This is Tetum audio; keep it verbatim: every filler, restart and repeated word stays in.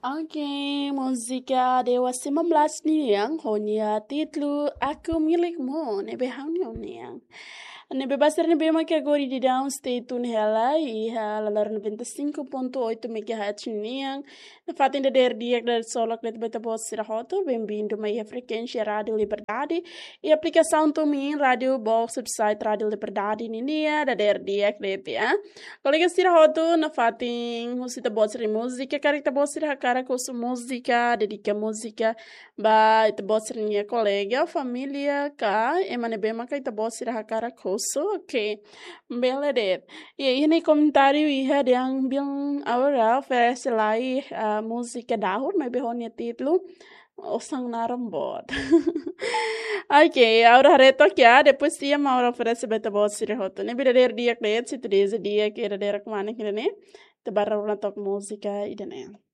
Oke, múzika Dewa sembilan belas nian, ho nia títulu Aku Milikmu, ne'ebé ha'u-nia nian. Ne'ebé ba sira ne'ebé mak agora daudaun stay tune hela iha lalaran noventa e cinco ponto oito megahertz nian. Nafatin dadeer di'ak, dadeer solok de'it ba ita-boot sira hotu, bem-vindo mai iha frekuénsia Rádiu Liberdade, iha aplikasaun TuneIn, Rádiu Box, website Rádiu Liberdade nian, dadeer di'ak de'it, ya. Kolega sira hotu, nafatin husu ita-boot sira múzika, karik ita-boot sira hakarak husu múzika, dedika múzika ba ita-boot sira-nia kolega, família, ka ema ne'ebé maka ita-boot sira hakarak husu, oke. Bele de'it. Ya, iha ne'e komentáriu iha dehan biin Aura oferese lai, ah, múzika dahur, maibé ho nia títulu Osan Naran Boot. Oke, Aura haree took ya, depois tia mak Aura oferese ba ita-boot sira hotu. Ne'ebé dadeer di'ak de'it, se tu deza di'ak, ke dadeer kemana kira ne'e. Ita bá rona took múzika ida-ne'e.